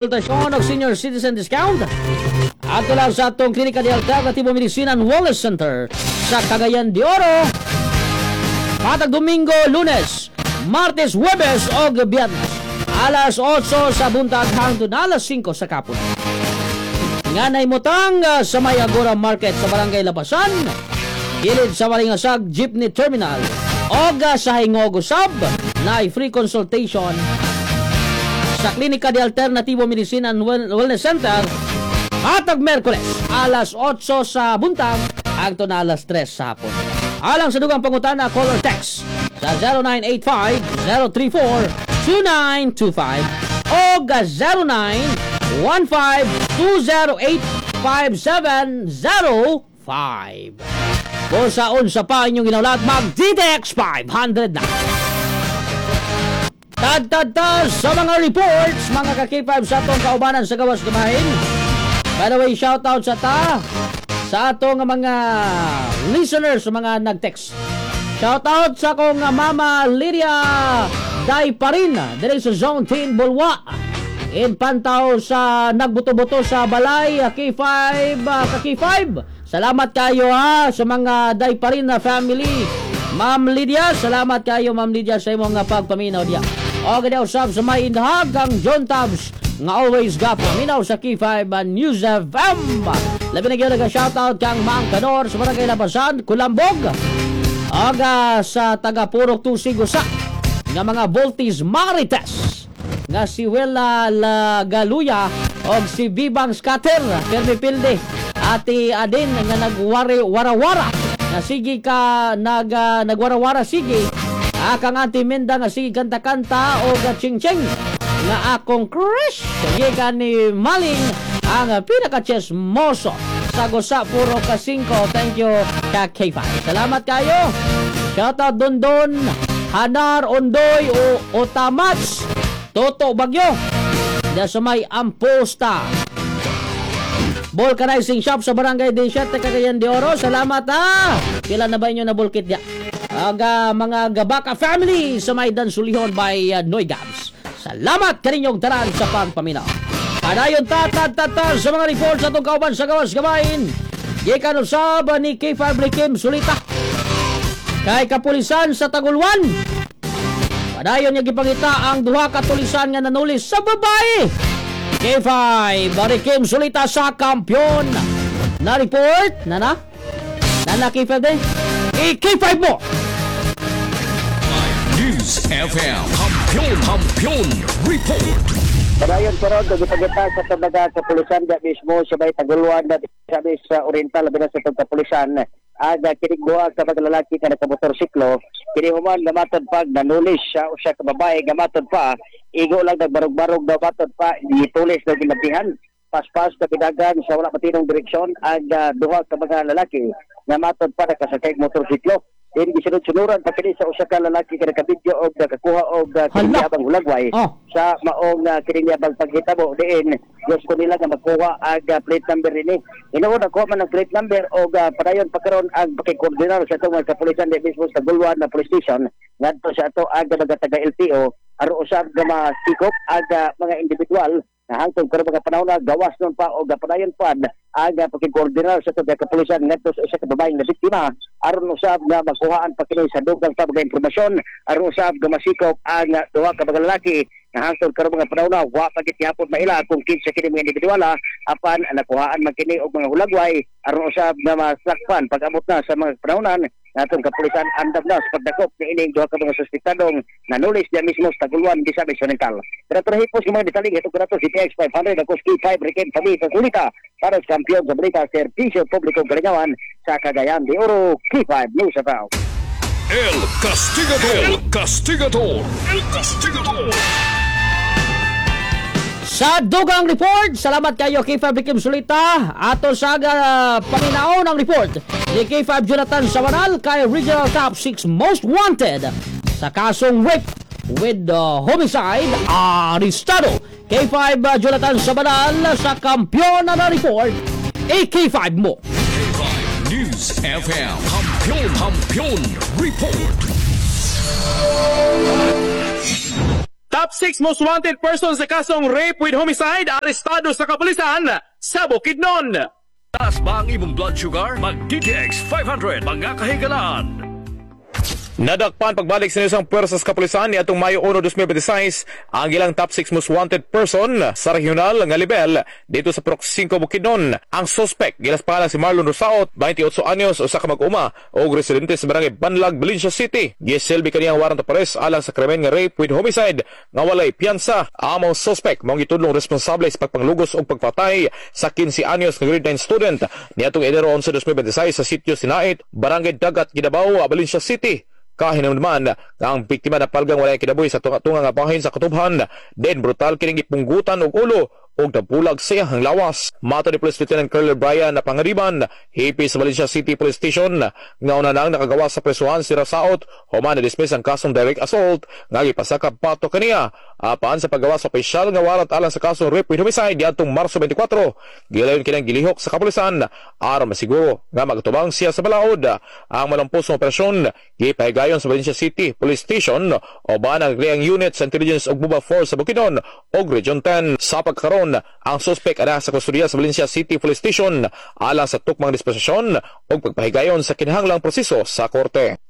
Konsultasyon og senior citizen discount. Adto lang sa atong Klinika de Alternativo Medicina and Wellness Center sa Cagayan de Oro. Matag Domingo, Lunes, Martes, Huwebes og Biyernes. Alas 8 sa buntag hangtod alas 5 sa kapon. Nga nahimutang sa may Agora Market sa Barangay Labasan, gilid sa Balingasag Jeepney Terminal, og sa Hingog usab na free consultation sa Klinika de Alternativo Medicina and Wellness Center hatag Merkules alas 8 sa buntag hangtod na alas 3 sa hapon. Alang sa dugang pangutana, call or text sa 0985-034-2925 o 0915-208-5705. Kung sa unsa pa inyong ginaulat, mag DTX 500 na. Tad tad sa mga reports, mga ka-K5 sa atong kaubanan sa gawas gamahin. By the way, shout out sa atong mga listeners, sa mga nag-text. Shout out sa akong mama Lydia Dayparin diri sa Zone 10 Bulwa. In Pantaw sa nagbuto-buto sa balay K5 ka K5. Salamat kayo ha sa mga Dayparin na family. Ma'am Lydia, salamat kayo, Ma'am Lydia, sa imong pagpaminaw diya. O gani usab sa may indahag ang John Tabs nga always gapaminaw sa K5 News FM. Labi na gyud nag-shoutout kang Mang Kanor sa Barangay Labasan, Kulambog. Aga sa taga Purok Tusig usa nga mga Voltis Marites nga si Wella Lagaluya og si Bibang Scatter Permi Pilde, Ate Adin nga nagwari warawara nga sige ka nagwarawara sige akang Ate Minda nga sige kanta-kanta og ching-ching nga akong crush gikan ni Maling ang pinaka-chesmoso sa Gusa Puro ka 5. Thank you ka K5. Salamat kayo. Shoutout Dondon Hanar Ondoy o Otamats Toto Bagyo da sa may Amposta Vulcanizing Shop sa Barangay Desert, Cagayan de Oro. Salamat ha. Pila na ba inyo na bulkit ya? Aga mga Gabaka family sa may Dansulihon by Noy Gabs. Salamat kaninyong tanan sa pagpaminaw. Padayon ta ta ta ta sa mga reports atong kauban sa gawas gabain. Gikan usab ni K5 Kim Sulita. Kay kapulisan sa Tagulwan. Padayon niya gipangita ang duha ka tulisan nga nanulis sa babae. K5 Barry Kim Sulita sa kampiyon. Na report na na. Na na K5 din. I-K5 mo. News FM. Kampiyon, Kampiyon Report. Padayon karon kag gipangita sa tabaga sa pulisan da mismo sa may Tagulwan da sabi sa Oriental, labi na sa itong kapulisan aga kining duha ka mga lalaki nga nakamotorsiklo kini human nga matod pag nanulis siya usa ka babae nga matod pa igo lang nagbarog-barog daw, matod pa gitulis daw, ginabdihan paspas kapidagan sa wala matinong direksyon ang duha ka mga lalaki nga matod pa nakasakay og motorsiklo. Din gisunod-sunuran pa kini sa usa ka lalaki nga nakabidyo og nakakuha og kini Hala. Abang hulagway sa maong kini niya bang paghitabo diin gusto nila nga makuha ang plate number ini. Hinuon nakuha man ang plate number og padayon pa karon ang pakikoordinar sa atong mga kapulisan di mismo sa Bulwan na police station ngadto sa ato ang mga taga LTO aron usab nga masikop ang mga individual na hangtod karon mga panahon na gawas nun pa og padayon pa ang pakikoordinar sa atong mga kapulisan ngadto sa usa ka babaeng na biktima aron usab nga makuhaan pa kini sa dugang pa mga impormasyon aron usab nga masikop ang duha ka mga lalaki na hangtod karon mga panahon na wa pa gid gihapon maila kung kinsa kini mga individual, apan nakuhaan man kini og mga hulagway aron usab nga masakpan pag-amot na sa mga panahonan natong kapulisan andam na sa pagdakop ni ining duha ka mga suspektadong nanulis diya mismo sa Tagulwan, Misamis Oriental. Pero hipos ng mga detalye ito kanato si TX 500 ako K5 Riken Pami sa Sulita para sa kampiyon sa balita, serbisyo publiko kalingawan sa Cagayan de Oro, K5 News FM. El Castigador. El Castigador. El Castigador. Sa dugang report, salamat kayo K5 Kim Sulita. Ato sa paminaon ang report ni K5 Jonathan Sabanal kay Regional Top 6 Most Wanted sa kasong rape with homicide arestado. K5 Jonathan Sabanal sa kampiyon na report, AK5 mo. K5 News FM. Kampiyon, Kampiyon Report. Top 6 most wanted person sa kasong rape with homicide arestado sa kapulisan sa Bukidnon. Taas ba ang imong blood sugar? Mag DTX 500, mga kahigalaan. Nadakpan pagbalik sa isang puwersa sa kapulisan ni atong Mayo 1, 2026 ang ilang top 6 most wanted person sa regional nga level dito sa Purok 5, Bukidnon. Ang suspect gilas pangalan si Marlon Rosaot, 28 anyos, usa ka mag-uma og residente sa Barangay Banlag, Valencia City. Gisilbi kaniyang warrant of arrest alang sa krimen nga rape with homicide nga walay piyansa. Ang mga suspect mao gitudlong responsable sa pagpanglugos og pagpatay sa 15 anyos nga grade 9 student niadtong Enero 11, 2026 sa sitio Sinait, Barangay Dagat, Gidabao, Valencia City. Kahinumduman nga ang biktima napalgang walay kinabuhi sa tunga-tunga nga bahin sa katubhan, den brutal kining gipunggutan og ulo og nabulag sa iyang lawas. Matod ni Police Lieutenant Colonel Brian na Pangariban, hepe sa Valencia City Police Station, nga una nang nakagawa sa presuhan si Rasaot, human na-dismiss ang kasong direct assault nga gipasakap pato kaniya. Apan sa paggawa sa opisyal nga warrant alang sa kasong rape with homicide diadtong Marso 24, gilayon kinang gilihok sa kapulisan aron masiguro nga magatubang siya sa balaod. Ang malampos nga operasyon gipahigayon sa Valencia City Police Station uban ang naglaing unit sa Intelligence ug Mobile Force sa Bukidnon ug Region 10. Sa pagkaron, ang suspect ana sa kustodiya sa Valencia City Police Station alang sa tukmang disposisyon ug pagpahigayon sa kinahanglang proseso sa korte.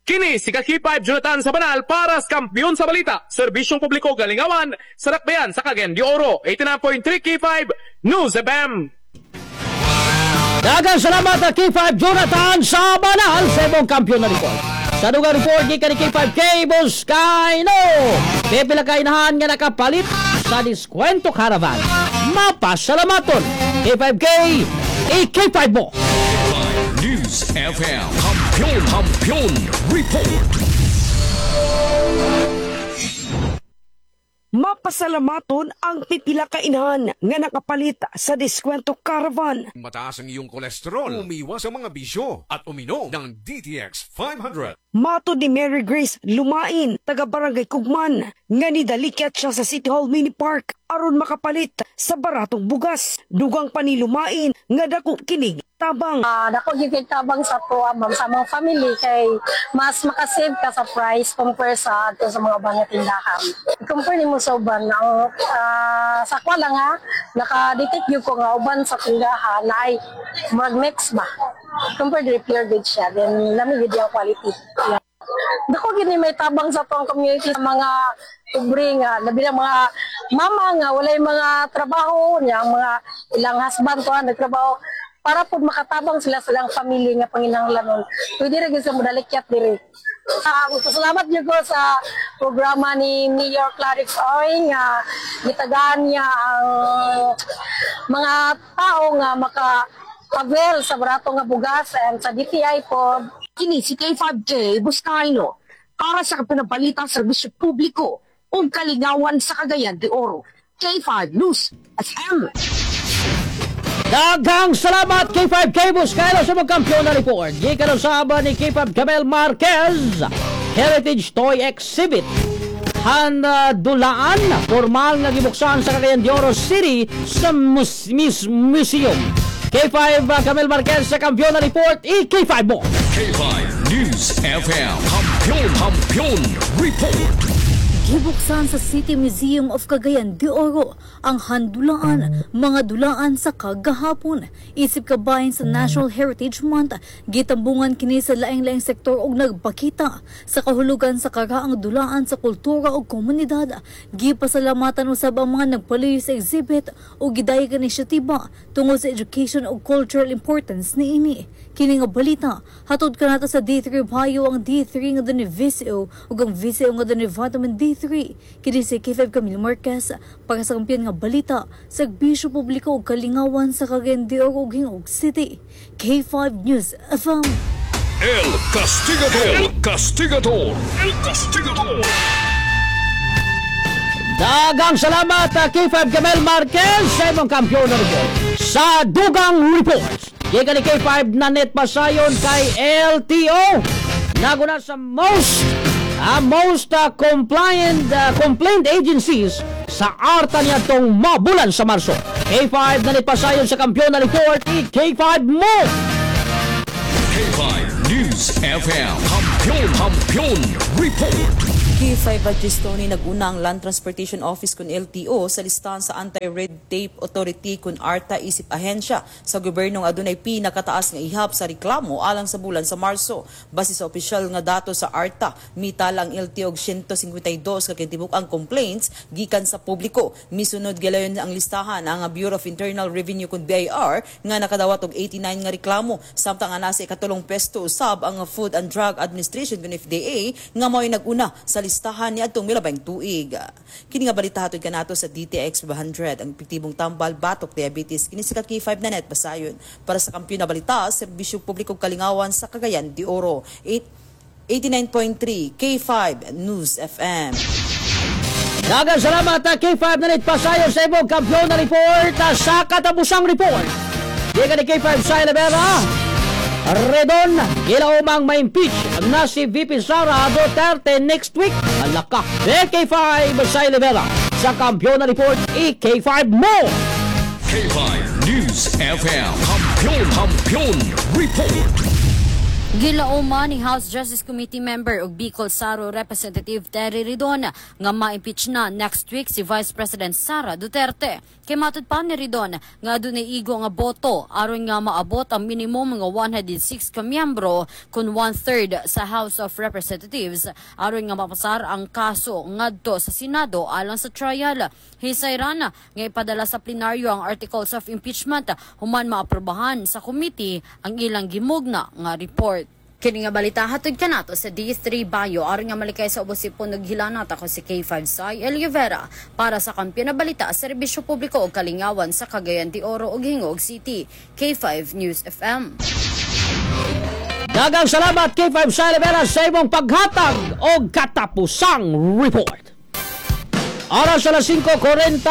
Kini si K5 Jonathan Sabanal para sa Kampiyon sa Balita, Serbisyong Publiko Galingawan, sa Dakbayan sa Cagayan de Oro, 89.3 K5 News FM. Daghang salamat na K5 Jonathan sa Banal sa imong kampiyon na report. Sa dugang report gikan ni K5 K Buscayno. Pipila ka inahan nga nakapalit sa Diskwento Caravan. Mapasalamaton. K5K, i-K5 mo. 5 News FM. Kampiyon Kampiyon Report. Mapasalamaton ang pipila ka inahan nga nakapalit sa Diskwento Caravan. Mataas ang iyong kolesterol, umiwas sa mga bisyo at uminom ng DTX 500. Matod ni Mary Grace Lumain, taga Barangay Kugman, nga nidalikyat siya sa City Hall Mini Park aron makapalit sa baratong bugas. Dugang pa ni Lumain nga dako kinig tabang. Dako gyud kay tabang sa tuwa, ma'am, sa mga family kay mas makasave ka sa price compare sa adto sa mga uban nga tindahan. I-compare nimo sa uban ang sa kwa lang ha, naka-detect gyud ko nga uban sa tindahan na ay murag mix ba. Compare diri, pure good siya, then lami gyud ang quality. Yeah. Dako gyud ni may tabang sa tuang community, sa mga pobre nga labi na mga mama nga walay mga trabaho niya, ang mga ilang husband to nagtrabaho, para po makatabang sila sa ilang family nga panginahanglanon. Pwede ra gyud sa modalikyat diri. Salamat gyud ko sa programa ni Mayor Clarix Oy nga gitagaan niya ang mga tao nga maka avail sa barato nga bugas and sa DTI po. Kini si K5J Buscayno para sa Kapinabalita, Serbisyo Publiko ug Kalingawan sa Cagayan de Oro. K5 News FM. Daghang salamat K5 K Buscayno sa mga kampiyon na report. Gikan sa ni K5 Camel Marquez, Heritage Toy Exhibit. Handulaan, formal nga gibuksan sa Cagayan de Oro City sa Museum. K5 Camel Marquez sa kampiyon na report, i-K5 mo! K5 News FM. Kampiyon Kampiyon Report. Gibuksan sa City Museum of Cagayan de Oro ang handulaan, mga dulaan sa kagahapon. Isip kabahin sa National Heritage Month, gitambungan kini sa laing-laing sektor og nagpakita sa kahulugan sa karaang dulaan sa kultura ug komunidad. Gipasalamatan usab ang mga nagpaluyo sa exhibit ug gidayeg ang inisyatiba tungod sa education ug cultural importance niini. Kini nga balita hatod kanato sa D3 Bio, ang D3 nga dunay VCO ug ang VCO nga dunay vitamin D3. Kini si K5 Camilo Marquez para sa kampiyon nga balita, serbisyo publiko ug kalingawan sa Cagayan de Oro ug Gingoog City. K5 News FM. El Castigador. El Castigador. El Castigador. Daghang salamat K5 Camel Marquez sa imong kampiyon na report. Sa dugang reports, gikan ni K5 Nanet Pasayon kay LTO. Naguna sa most compliant complaint agencies sa arta niya tong mabulan sa Marso. K5 Nanet Pasayon sa kampiyon na report, i-K5 mo! K5 News FM. Kampiyon Kampiyon Report. K5 Tony, nag-una ang Land Transportation Office kun LTO sa listahan sa Anti-Red Tape Authority kun ARTA isip ahensya sa gobyerno nga adunay pinakataas nga ihap sa reklamo alang sa bulan sa Marso. Base sa opisyal nga dato sa ARTA, mitala ang LTO og 152 ka kinatibuk-ang complaints gikan sa publiko. Misunod gilayon ang listahan ang Bureau of Internal Revenue kun BIR nga nakadawat og 89 nga reklamo, samtang ang nasa ikatulong pwesto usab ang Food and Drug Administration kun FDA nga mao'y nag-una sa listahan niadtong milabang tuig. Kini nga balita hatod kanato sa DTX 500, ang epektibong tambal batok diabetes. Kini si K5 na net basayon para sa Kampiyon na Balita, serbisyo publiko, kalingawan sa Cagayan de Oro. 89.3 K5 News FM. Daghang salamat, K5 na net pasayon sa imong kampiyon na report, sa katapusang report. Di ka ni K5 sa Elevera. Ridon, gilaumang ma-impeach na si VP Sara Duterte next week. Alaka. K5 sa Elevera. Sa kampiyon na report, i-K5 mo! K5 News FM. Kampiyon, Kampiyon Report. Gilauma ni House Justice Committee member ug Bicol Saro Representative Terry Ridon nga ma-impeach na next week si Vice President Sara Duterte. Kay matud pa ni Ridon nga adunay igo nga boto aron nga maabot ang minimum nga 106 ka miyembro kun one-third sa House of Representatives aron nga mapasar ang kaso ngadto sa Senado alang sa trial. Hisayran nga ipadala sa plenaryo ang articles of impeachment human maaprobahan sa committee ang ilang gimugna nga report. Kini nga balita hatod kanato sa D3 Bio aron nga malikay sa ubos ipon naghilanat. Ako si K5 Sai Oliveira para sa Kampiyon na Balita, serbisyo publiko ug kalingawan sa Cagayan de Oro ug Gingoog City. K5 News FM. Daghang salamat, K5 sa Rivera, sa imong paghatag og katapusang report. Oras sa alas 5:49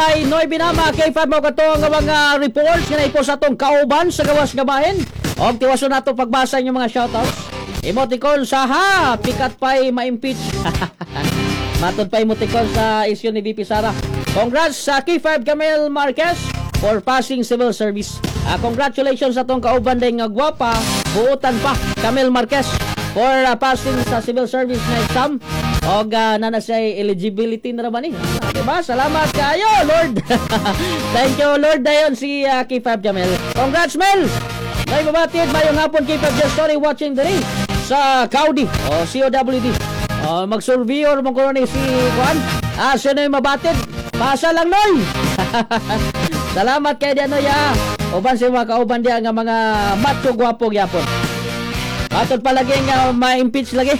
na, mga K5, mo kato ang mga reports nga naipo sa atong kauban sa gawas nga bahin. Og tiwason nato pagbasa inyong mga shoutouts. Emoticon sa ha, pikat pa'y ma-impeach. Matod pa emoticon sa issue ni VP Sara. Congrats sa K5 Camille Marquez for passing civil service. Congratulations sa atong kauban din nga gwapa, buutan pa, Camille Marquez, for passing sa civil service na exam. Og na siya eligibility na raman eh. Diba? Salamat kayo, Lord. Thank you, Lord. Dayon si K5 Jamel. Congrats, Mel! May mabatid, mayong hapon, K5 Just Story watching diri sa Cowdy o COWD. O, mag-surveyor mo ko ni si Juan. Sino yung mabatid? Pasa lang, Noy! Salamat kay Dianoy, ah. Uban si mga kauban diya nga mga macho gwapo gyapon. Atod palagi nga ma-impeach lagi.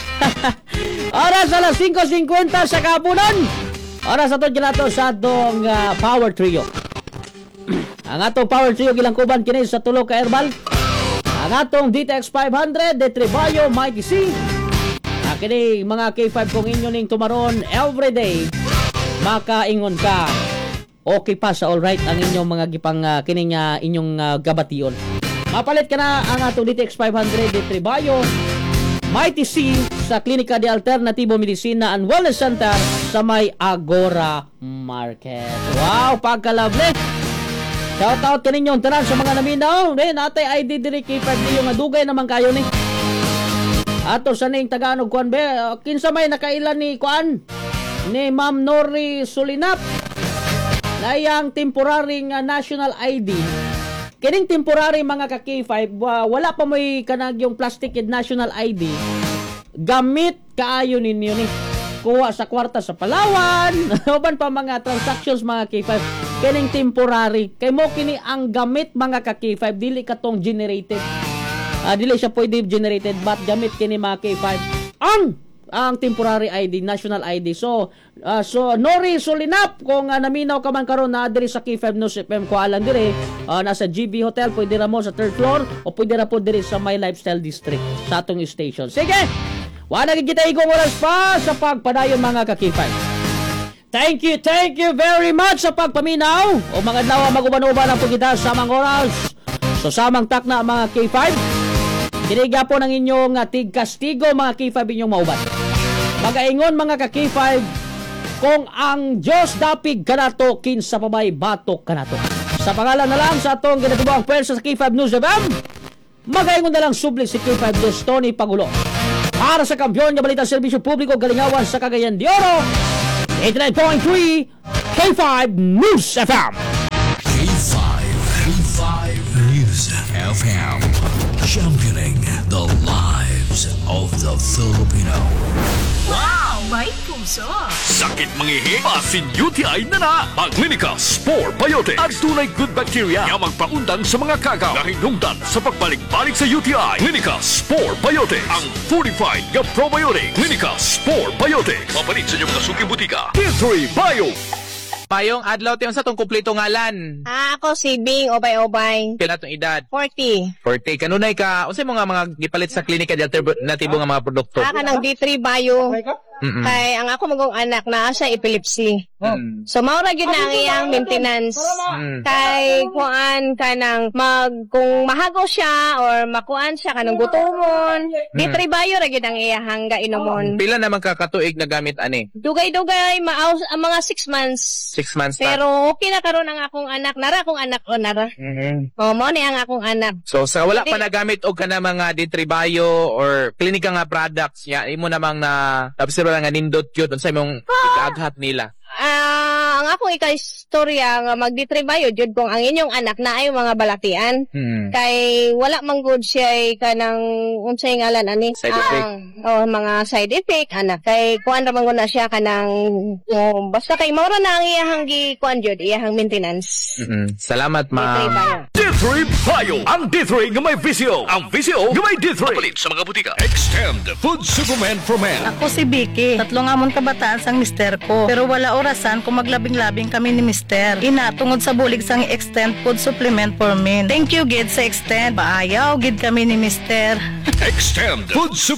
Oras alas 5:50 sa kapunan. Oras ato ginato sa atong Power Trio. Ang atong Power Trio gilangkuban kini sa tulo ka herbal. Ang atong DTX 500, Detribayo, Mighty C. Kini mga K5, kung inyo ning tumaron everyday, makaingon ka okay pa sa all right ang inyong mga gipang kining inyong gabation. Mapalit ka na ang atong DTX 500, Detribayo, Mighty C sa Klinika de Alternativo Medicina and Wellness Center sa may Agora Market. Wow, pagka-lovely! Shout out kaninyong tanan sa mga naminaw. Eh, natay ID diri K5 niyo nga dugay naman kayo ni. Ato sa ning Tagalog kuan be, kinsa may nakailan ni kuan ni Ma'am Nori Sulinap na iyang temporary nga national ID. Kining temporary, mga ka K5, wala pa mo'y kanag yung plastic national ID. Gamit kaayo ninyo ni. Kuha sa kwarta sa Palawan, uban pa mga transactions, mga K5. Kining temporary. Kay mo kini ang gamit, mga ka K5, dili katong generated. Dili siya pwede generated, but gamit kini, mga K5. Ang temporary ID, national ID. So Nori Sulinap, kung naminaw ka man karon na diri sa K5 News FM Kualan dire, nasa GB Hotel, pwede ra mo sa third floor o pwede ra po diri sa My Lifestyle District sa atong station. Sige. Wala gid kita igong oras pa sa pagpadayon, mga ka-K5. Thank you very much sa pagpaminaw. O mga adlaw, maguban-uban ang pagkita sa samang oras. So samang takna, mga K5. Kini po ng inyong tigkastigo, mga K5, inyong mauban. Magaingon, mga ka-K5, kung ang Diyos dapig kanato, kinsa pa bay batok kanato. Sa pangalan na lang sa atong ginatibuang pwersa sa K5 News FM, magaingon na lang subli si K5 Diyos Tony Pagulo. Para sa kampiyon nga balita, serbisyo publiko, galingawan sa Cagayan de Oro, 89.3 K5 News FM. K5, K5 News FM. Championing the lives of the Filipino. Wow! May puso! Sakit mangihi, basin UTI na na. Ang Spore Biotics. Adunay good bacteria nga magpaundang sa mga kagaw nga hinungdan sa pagbalik-balik sa UTI. Clinica Spore Biotics. Ang fortified nga probiotic. Clinica Spore Biotics. Mapalit sa inyong mga suking butika. D3 Bio. Mayong adlaw, te, unsa tong kumpleto ngalan? Ah, ako si Bing Obay-Obay. Pila tong edad? 40. 40. Kanunay ka, unsay mga gipalit sa klinika di alternatibo nga mga produkto? Ah, kanang D3 Bio. Kay ang ako magong anak naa sa epilepsy. So mao ra gyud na ang iyang maintenance. Kay kuan kanang mag kung mahago siya or makuan siya kanang gutomon, D3 Bio ra gyud ang iyang gainomon. Pila naman ka katuig na gamit ani? Dugay-dugay maaw ang mga 6 months. 6 months ta. Pero okay na karon ang akong anak. Nara akong anak o nara. Oh, mao ni ang akong anak. So sa wala pa nagamit og kana mga D3 Bio or klinika nga products ya imo namang na observe nga nindot yun unsa imong ikaaghat nila? Ah, ang akong ika-istorya nga mag D3 Bio jud kung ang inyong anak na ay mga balatian. Kay wala man gud siya kanang unsay ngalan ani? Side effect. Oh, mga side effect anak. Kay kuan ra man gud na siya kanang, oh, basta kay mao ra na ang iyahang gi kuan jud, iyahang maintenance. Salamat, ma'am. D3 Bio. Ang D3 nga may VCO. Ang VCO nga may D3. Palit sa mga butika. Extend Food Supplement for Men. Ako si Vicky. Tatlo nga amon kabataan sang mister ko. Pero wala orasan kung maglabing-labing kami ni mister. Ina, tungod sa bulig sang Extend Food Supplement for Men. Thank you, gid, sa Extend. Paayaw, gid kami ni mister. Extend Food Supplement.